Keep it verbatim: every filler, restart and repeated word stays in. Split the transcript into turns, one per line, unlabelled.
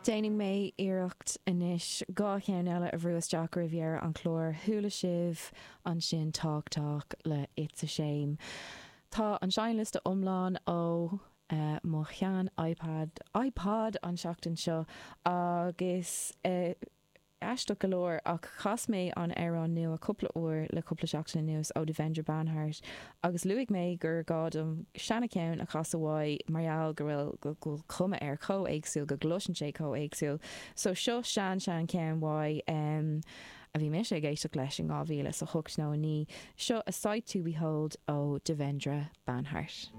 Déanfaidh mé iarracht anois dhá cheann eile a bhrú isteach roimh dheireadh an chláir chuala sibh ansin Talk Talk le It's a Shame. Tá an seinnliosta iomlán ó uh, mo shean iPad iPod an seachtain seo agus uh, aisteach go leor ach chas mé an amhrán nua cúpla uair le cúpla seachtain anuas ó Devendra Banhart agus luaigh mé gur gá dom seancheann a chasadh uaidh mar gheall go bhfuil go bhfuil cuma air chomh héagsúil go gcloiseann sé chomh héagsúil. So seo sean sean ceann uaidh um, a bhí mise ag éisteacht leis in dhá mhíle sa hocht nó naoi, seo a Sight to Behold ó Devendra Banhart.